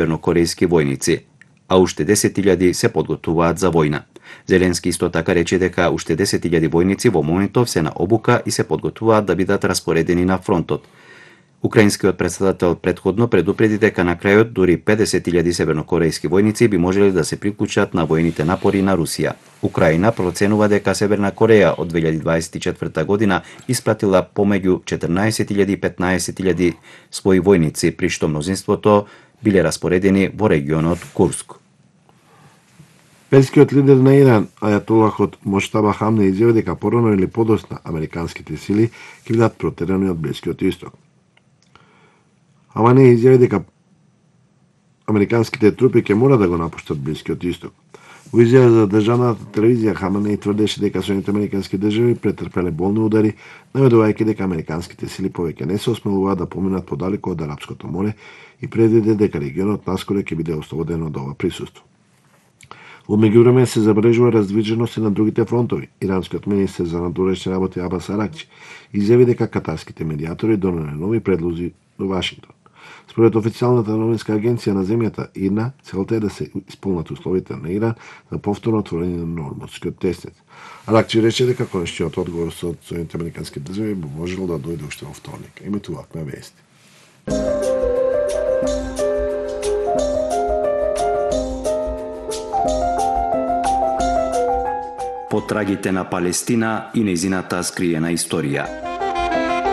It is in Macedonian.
севернокорејски војници, а уште 10.000 се подготвуваат за војна. Зеленски исто така рече дека уште 10.000 војници во моментов се на обука и се подготвуваат да бидат распоредени на фронтот. Украинскиот претседател претходно предупреди дека на крајот дури 50.000 севернокорејски војници би можеле да се приклучат на војните напори на Русија. Украина проценува дека Северна Кореја од 2024 година испратила помеѓу 14.000 и 15.000 своји војници, при што мнозинството биле распоредени во регионот Курск. Верскиот лидер на Иран, ајатолахот Моштаба Хамне, изјави дека порано или подоцна американските сили ќе бидат протерани од Блискиот исток. Хамне изјави дека американските трупи ќе мора да го напуштат Блискиот исток. Во изјава за државната телевизија Хамне тврдеше дека Соединените американски држави претрпеле болни удари, наведувајќи дека американските сили повеќе не се осмелуваат да поминат подалеку од Арапското море и предвиде дека регионот наскоро ќе биде ослободен од ова присуство. Во меѓувреме се забележува раздвиженост и на другите фронтови. Иранскиот министер за надворешни работи Абас Аракчи изјави дека катарските медијатори донеле нови предлози до Вашингтон. Според официјалната новинска агенција на земјата ИРНА, целта е да се исполнат условите на Иран за повторно отворање на Нормандскиот теснец. Аракчи рече дека конечниот одговор со Соединените американски држави би можел да дојде уште во вторник. Емитувавме вести. Потрагите на Палестина и нејзината скриена историја.